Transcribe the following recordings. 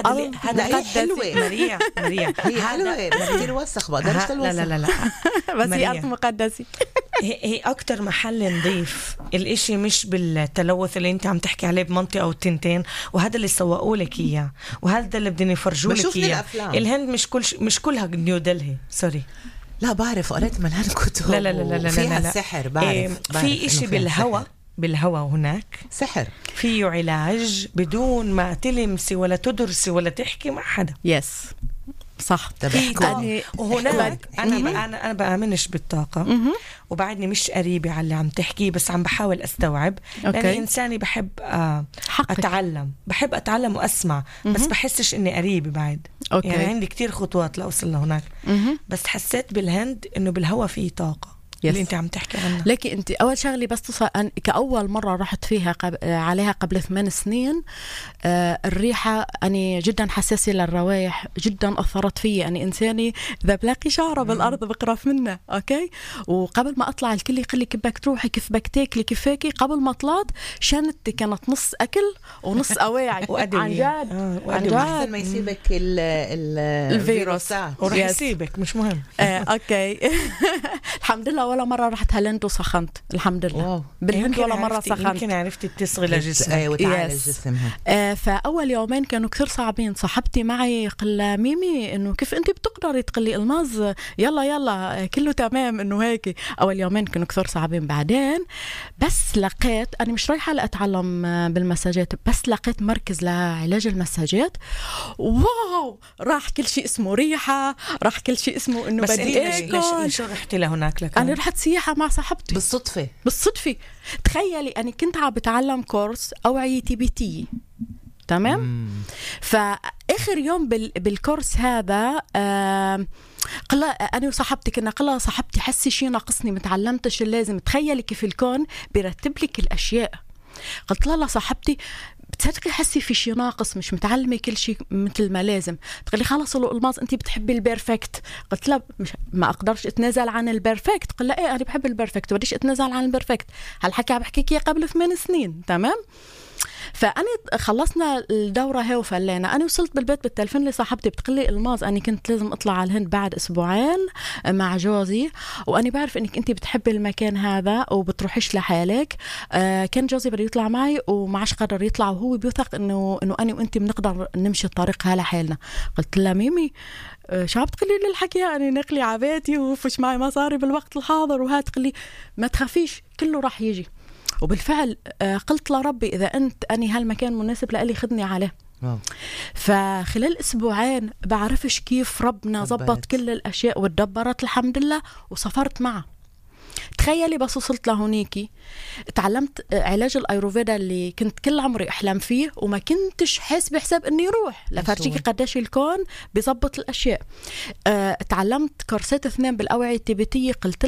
هذا حلوة مريع هي حلوة بس كتير وسخ بقدرش تلوسخ. لا بس هي أرض مقدسة. هي أكتر محل نضيف الاشي مش بالتلوث اللي انت عم تحكي عليه بمنطقة أو تنتين، وهذا اللي سوقوا لك إياه وهذا اللي بدنا يفرجوا لك إياه. الهند مش كلها نيو دلهي. سوري لا بعرف قرأت ملان كتب لا فيها السحر. بعرف في إشي بالهوا هناك سحر فيه علاج بدون ما تلمسي ولا تدرسي ولا تحكي مع حدا. يس صح. وهناك أنا بآمنش بالطاقة وبعدني مش قريبة على اللي عم تحكيه، بس عم بحاول أستوعب لأن إنساني بحب أتعلم وأسمع بس بحسش إني قريبة بعد. يعني عندي كتير خطوات لأوصل لهناك. بس حسيت بالهند إنه بالهوا فيه طاقة اللي انت عم تحكي عنها. لكن انت اول شغله بس كاول مره رحت فيها عليها قبل 8 سنين. الريحه اني جدا حساسه للروائح، جدا اثرت في اني انساني اذا بلاقي شعره بالارض بقرف منها. اوكي. وقبل ما اطلع الكل يقول لي كيف بدك تروحي، كيف بدك تاكلي، كيف هيك. قبل ما طلعت شنطتي كانت نص اكل ونص اواعي. عن جد احسن ما يسيبك الفيروس ورح يسيبك مش مهم. اوكي. الحمد لله ولا مرة رحت هالند وسخنت. الحمد لله. بالهند ولا مرة سخنت. يمكن عرفتي تصغي لجسمك وتعالج جسمها. فأول يومين كانوا كثير صعبين. صاحبتي معي قل ميمي إنه كيف أنت بتقدري تقلي الماز، يلا كله تمام. إنه هيك أول يومين كانوا كثير صعبين. بعدين بس لقيت أنا مش رايحة لأتعلم بالمساجات، بس لقيت مركز لعلاج المساجات. واو راح كل شيء اسمه ريحة، راح كل شيء اسمه إنه بدي أكل. ليش رحتي لهناك لك؟ أنا رحت سياحة مع صاحبتي بالصدفة. تخيلي أنا كنت عم بتعلم كورس أوعية تبتية. تمام. فآخر يوم بالكورس هذا قال أنا وصاحبتي كنا قلها صاحبتي حسي شي ناقصني متعلمتش اللازم. تخيلي كيف الكون بيرتب لك الأشياء. قلت لها صاحبتي بتصدقي حسي في شي ناقص، مش متعلمة كل شيء مثل ما لازم. تقولي خلاص الألماظ أنتي بتحبي البيرفكت. قلت لا ما أقدرش أتنازل عن البيرفكت. قل لا إيه أنا بحب البيرفكت بديش أتنازل عن البيرفكت. هالحكي عم بحكيك قبل 8 سنين. تمام. فأنا خلصنا الدورة هي وفلينا. أنا وصلت بالبيت بالتلفون لصاحبتي بتقلي الماز أنا كنت لازم أطلع على الهند بعد 2 أسبوعين مع جوزي، وأنا بعرف إنك أنتي بتحبي المكان هذا وبتروحيش لحالك. كان جوزي بده يطلع معي ومعش قدر يطلع، وهو بيوثق إنه أنا وأنتي بنقدر نمشي الطريق هلا حالنا. قلت لها ميمي شو عم تقولي لي الحكي؟ أنا نقلي عباتي وفش معي مصاري بالوقت الحاضر وهات. تقولي ما تخافيش كله راح يجي. وبالفعل قلت لربي إذا أني هالمكان مناسب لألي خدني عليه. فخلال 2 أسبوعين بعرفش كيف ربنا زبط كل الأشياء وتدبرت الحمد لله وسافرت معه. تخيلي بس وصلت لهونيكي تعلمت علاج الأيروفيدا اللي كنت كل عمري أحلم فيه وما كنتش حاس بحساب أني روح لفرجيكي قداش الكون بيزبط الأشياء. تعلمت كورسات 2 بالأوعية التبتية. قلت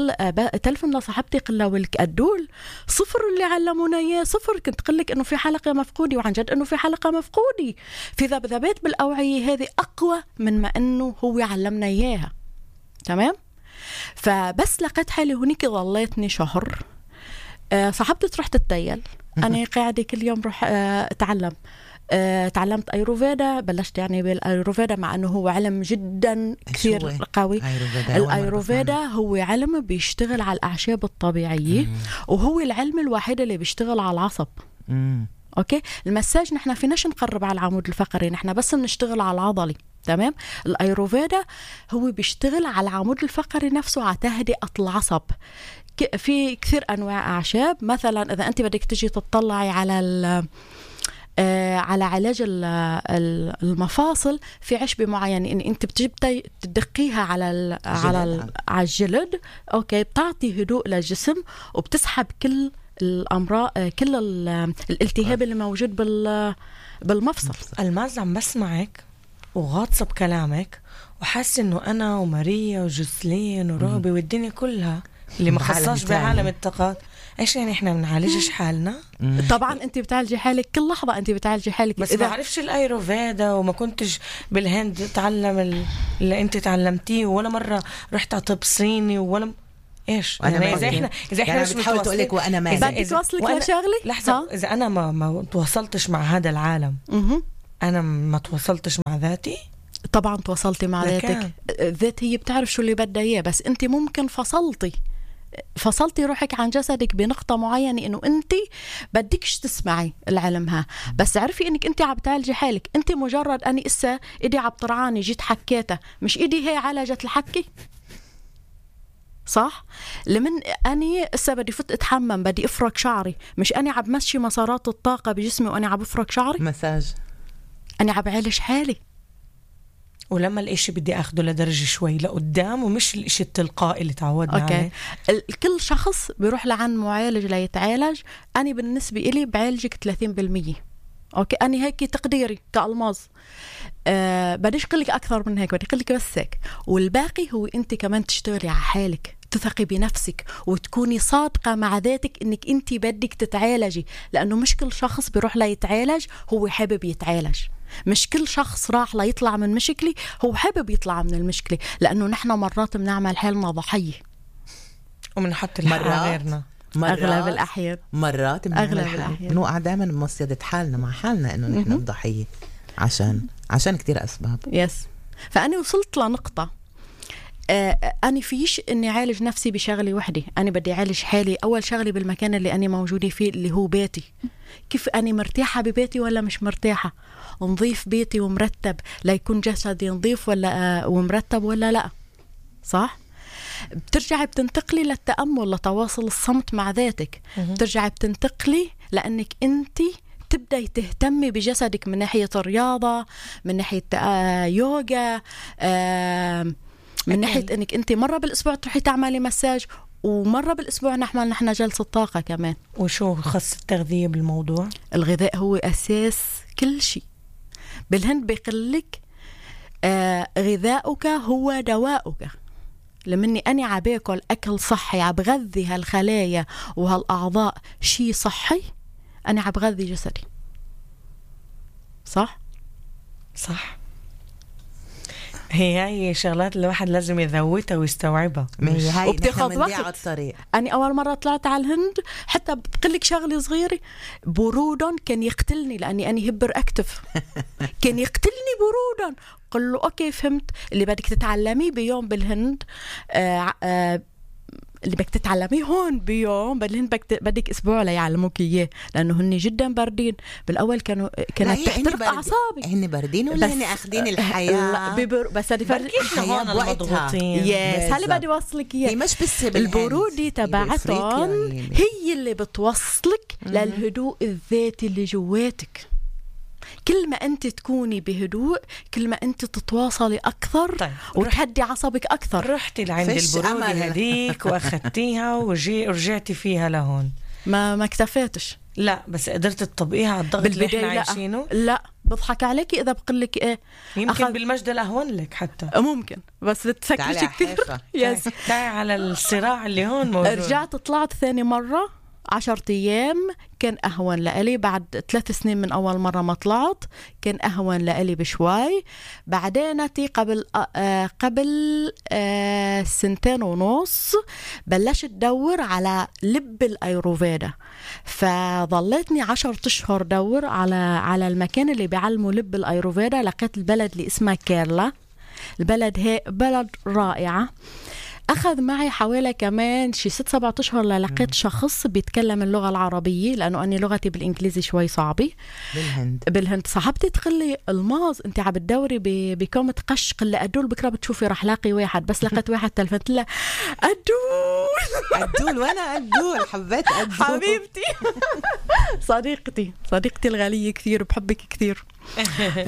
تلفن لصاحبتي قلت ولك أدول 0 اللي علمونا إياه 0. كنت قلك أنه في حلقة مفقودة وعن جد أنه في حلقة مفقودة. في ذبذبات بالأوعية هذه أقوى من ما أنه هو علمنا إياها. تمام. فبس لقيت حالي هونيك ظليتني شهر. صاحبتي تروح تتيل، أنا قاعدة كل يوم روح أتعلم. تعلمت أيروفيدا. بلشت يعني بالأيروفيدا مع أنه هو علم جدا كثير قوي. الأيروفيدا هو علم بيشتغل على الأعشاب الطبيعية وهو العلم الوحيد اللي بيشتغل على العصب. أوكي. المساج نحن فيناش نقرب على العمود الفقري، نحن بس بنشتغل على العضلي. تمام. الأيروفيدا هو بيشتغل على العمود الفقري نفسه على تهدئة العصب. في كثير أنواع أعشاب. مثلا إذا أنت بدك تجي تطلعي على علاج المفاصل في عشبة معينة إن أنت بتجي تدقيها على الجلد. أوكي. بتعطي هدوء للجسم وبتسحب كل الأمراض كل الالتهاب اللي موجود بالمفصل. الماز عم بسمعك وغاطسة بكلامك وحاسة إنه أنا وماريا وجوسلين وروبي والدنيا كلها اللي ما خصاش بعالم الطاقات. إيش يعني إحنا بنعالجش حالنا؟ طبعا أنت بتعالجي حالك كل لحظة. أنت بتعالجي حالك بس ما عرفش الأيروفيدا وما كنتش بالهند تعلم اللي أنت تعلمتيه ولا مرة رحت على طب صيني ولا إيش يعني إذا إحنا مش بتحاول تقولك وأنا ما بدي توصلك لشغلي. لحظة إذا أنا ما تواصلتش مع هذا العالم، أنا ما تواصلتش مع ذاتي؟ طبعا تواصلتي مع ذاتك. الذات هي بتعرف شو اللي بدها اياه، بس انت ممكن فصلتي روحك عن جسدك بنقطة معينة انه انت بدكش تسمعي العلمها، بس عرفي انك انت عم تعالجي حالك. انت مجرد اني اسا ايدي عم طرعاني جيت حكيتها، مش ايدي هي عالجت الحكي، صح؟ لمن اني اسا بدي فت اتحمم بدي افرك شعري، مش اني عم مشي مسارات الطاقة بجسمي واني عم بفرك شعري، مساج، اني عم بعالج حالي. ولما الاشي بدي اخده لدرجة شوي لقدام ومش الاشي التلقائي اللي تعودنا عليه. كل شخص بيروح لعن معالج ليتعالج. أنا بالنسبة إلي بعالجك 30%. أوكي، أنا هيك تقديري كألماظ. بديش قلك أكثر من هيك، بدي قلك بس هيك، والباقي هو أنت كمان تشتغلي على حالك، تثقي بنفسك وتكوني صادقة مع ذاتك إنك أنت بدك تتعالجي، لأنه مش كل شخص بيروح ليتعالج هو حابب يتعالج. مش كل شخص راح ليطلع من مشكلة هو حابب يطلع من المشكلة، لأنه نحن مرات بنعمل حالنا ضحية ومنحط الحق على غيرنا. أغلب الأحيان بنوقع دائما بمصيدة حالنا مع حالنا إنه نحن الضحية عشان كتير أسباب. يس. فأنا وصلت لنقطة أنا فيش إني عالج نفسي بشغلة وحدة، أنا بدي عالج حالي. أول شغلة بالمكان اللي أنا موجودة فيه اللي هو بيتي، كيف أنا مرتاحة ببيتي ولا مش مرتاحة، نظيف بيتي ومرتب ليكون جسدي نظيف ولا ومرتب ولا لا، صح؟ بترجعي بتنتقلي للتأمل، لتواصل الصمت مع ذاتك. بترجعي بتنتقلي لأنك أنت تبدأي تهتمي بجسدك من ناحية الرياضة، من ناحية يوغا، من ناحية أنك أنت مرة بالأسبوع تروحي تعملي مساج، ومرة بالأسبوع نحن جلسة طاقة كمان. وشو خص التغذية بالموضوع؟ الغذاء هو أساس كل شيء. بالهند بيقلك غذاؤك هو دواؤك. لمني أنا عباكل أكل صحي عبغذي هالخلايا وهالأعضاء شيء صحي، أنا عبغذي جسدي. صح؟ هي شغلات الواحد لازم يذوتها ويستوعبها، وبتاخد وقت. أنا أول مرة طلعت على الهند حتى بقلك شغلة صغيرة، بروداً كان يقتلني لأني أنا هبر أكتف كان يقتلني بروداً. قل له أوكي فهمت، اللي بدك تتعلميه بيوم بالهند اللي بدك تتعلميه هون بيوم بالهند بدك أسبوع ليعلموك إياه، لأنه هن جدا باردين. بالأول كانت تحترق أعصابي. هن باردين ولا هن أخذين الحياة؟ بس هذه فرق الحياة مضغوطين. هلا بدي وصلك إياه. مش بس البرودة تبعتهم هي اللي بتوصلك للهدوء الذاتي اللي جواتك. كل ما أنت تكوني بهدوء كل ما أنت تتواصلي أكثر. طيب. وتهدي عصبك أكثر. رحتي لعند البرودة هديك وأخذتيها ورجعتي فيها لهون، ما اكتفيتش. لا بس قدرت تطبقيها على الضغط اللي احنا عايشينه؟ لا بضحك عليكي إذا بقلك إيه، يمكن بالمجد الأهون لك حتى ممكن، بس بتفكرش كثير. تعي على الصراع اللي هون موجود. رجعت طلعت ثاني مرة 10 أيام كان أهون لألي. بعد 3 سنين من أول مرة ما طلعت كان أهون لألي بشوي. بعدينتي قبل 2.5 سنين بلشت دور على لب الأيروفيدا، فظلتني 10 أشهر دور على المكان اللي بيعلموا لب الأيروفيدا. لقيت البلد اللي اسمها كيرلا. البلد هي بلد رائعة. أخذ معي حوالي كمان شي 6-7 أشهر للقيت شخص بيتكلم اللغة العربية، لأنه أنا لغتي بالإنجليزي شوي صعبة. بالهند صاحبتي تقلي الماظ أنت عم تدوري بكومة قش، قل أدول بكرة بتشوفي رح لاقي واحد. بس لقيت واحد تلفت له أدول وأنا أدول حبيت أدول حبيبتي صديقتي الغالية كثير بحبك كثير.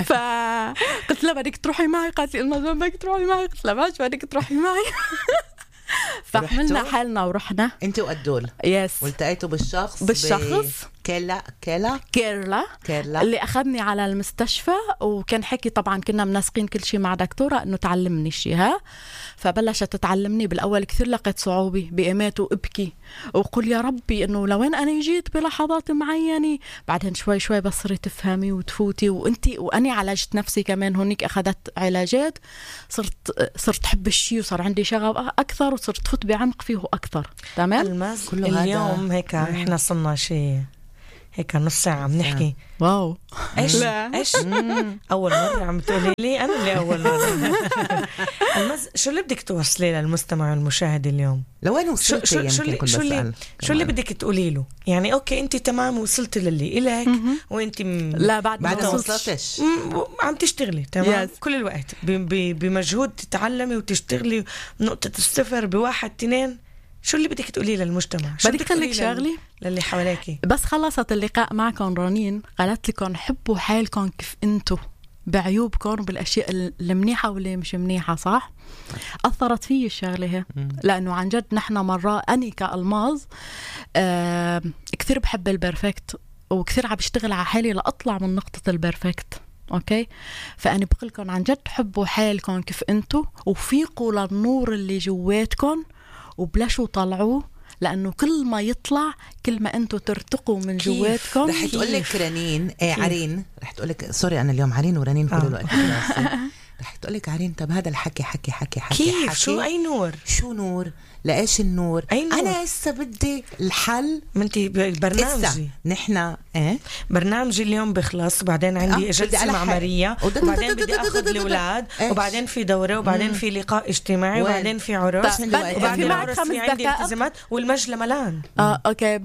فقلت لها بدك تروحي معي، قالت لي ما بدك تروحي معي، قلت لها ماشي بدك تروحي معي. فحملنا حالنا ورحنا انت وأدول. يس. والتقيتوا بالشخص كيرلا اللي أخذني على المستشفى، وكان حكي طبعا كنا مناسقين كل شيء مع دكتورة انه تعلمني شيء. فبلشت تتعلمني. بالاول كثير لقيت صعوبة بإيمات وابكي وقول يا ربي انه لوين انا جيت بلحظات معينة. بعدين شوي شوي بصري تفهمي وتفوتي واني عالجت نفسي كمان هونيك. اخذت علاجات، صرت حب الشيء وصار عندي شغف اكثر وصرت فوت بعمق فيه اكثر. تمام. اليوم هيك احنا صرنا شيء هيك نص ساعة عم نحكي. واو. ايش اول مرة عم تقولي لي انا اللي اول مرة. شو اللي بدك توصلي للمستمع والمشاهد اليوم؟ لوين وصلتي؟ شو اللي بدك تقولي له؟ يعني اوكي انت تمام وصلتي للي إلك وانت لا بعد ما وصلتش عم تشتغلي تمام كل الوقت بمجهود تتعلمي وتشتغلي نقطة الصفر بواحد 2. شو اللي بدك تقولي للمجتمع؟ بدك تقولي شغلي للي حواليكي. بس خلصت اللقاء معكم رنين قالت لكم حبوا حالكم كيف انتو بعيوبكم بالاشياء المنيحه واللي مش منيحه. صح؟ اثرت فيي الشغله هي لانه عن جد نحن مره اني كالماظ كثير بحب البرفكت وكثير عم بشتغل على حالي لاطلع من نقطه البرفكت. اوكي فاني بقول لكم عن جد حبوا حالكم كيف انتو وفيقوا للنور اللي جواتكم وبلشوا طلعوه لأنه كل ما يطلع كل ما أنتوا ترتقوا من جواتكم. رح تقولك رنين عرين رح تقولك سوري أنا اليوم عرين ورنين كل الوقت رح تقولك عرين طب هذا الحكي حكي كيف حكي. شو أي نور؟ شو نور؟ لإيش النور؟ أنا هسه بدي الحل. منتي برنامجي نحن برنامجي اليوم بخلص وبعدين عندي جلسة مع ماريا وبعدين بدي أخذ الأولاد وبعدين في دورة وبعدين في لقاء اجتماعي وبعدين في عرس وبعدين عرس في عندي التزامات والمجلة ملان. أوكي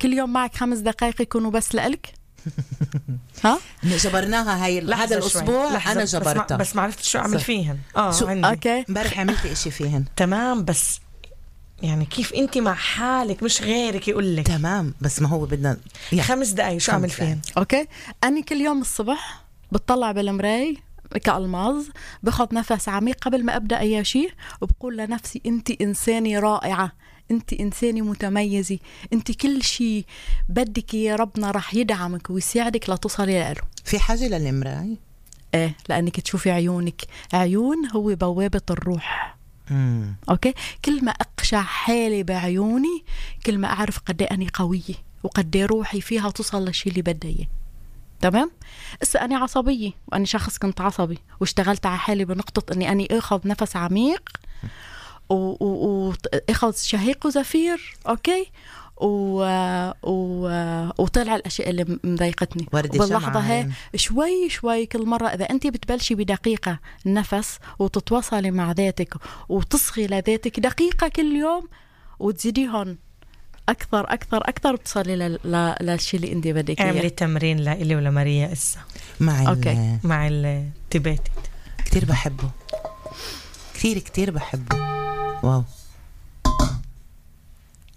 كل يوم معك 5 دقائق يكونوا بس لإلك. ها جبرناها هاي هذا الأسبوع. أنا جبرتها بس ما عرفت شو أعمل فيهن. عندي أوكي امبارح عملت إشي فيهن تمام بس يعني كيف انت مع حالك مش غيرك يقول لك تمام بس ما هو بدنا 5 دقايق شو اعمل فيهم. اوكي اني كل يوم الصبح بتطلع بالمراي كالماظ باخذ نفس عميق قبل ما ابدا اي شيء وبقول لنفسي انت انسانه رائعه انت انسانه متميزه انت كل شيء بدك يا ربنا راح يدعمك ويساعدك لتصلي له. في حاجه للمراي ايه لانك تشوفي عيونك. عيون هو بوابه الروح. اوكي كل ما اقشع حالي بعيوني كل ما اعرف قد ايه اني قويه وقد ايه روحي فيها توصل للشيء اللي بدي اياه. تمام. هسه انا عصبيه واني شخص كنت عصبي واشتغلت على حالي بنقطه اني اخذ نفس عميق واخذ شهيق وزفير. اوكي وطلع الاشياء اللي مضايقتني باللحظه هي شوي شوي. كل مره اذا انت بتبلشي بدقيقه نفس وتتواصلي مع ذاتك وتصغي لذاتك دقيقه كل يوم وتزيديهم اكثر اكثر اكثر بتصلي للشيء اللي انت بدك اياه. اعملي تمرين لإلي ولا ماريا اسا مع التباتي كثير بحبه كثير بحبه. واو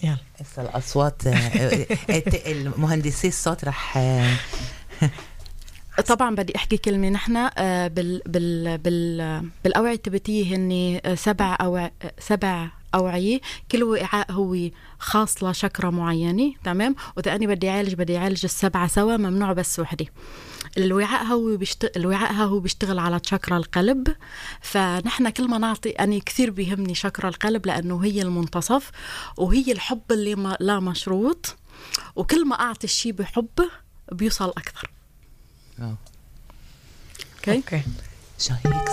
يلا هسه الأصوات المهندسي الصوت رح طبعا بدي أحكي كلمة. نحن بالأوعية التبتية هن 7 أوعية. كل وعاء هو خاص لشكرة معينة. تمام. وإذا أنا بدي أعالج 7 سوا ممنوع بس وحدة. الوعاء هو بيشتغل على شكرة القلب. فنحن كل ما نعطي أنا كثير بيهمني شكرة القلب لأنه هي المنتصف وهي الحب اللي لا مشروط وكل ما أعطي الشيء بحب بيوصل أكثر. اوكي شهيق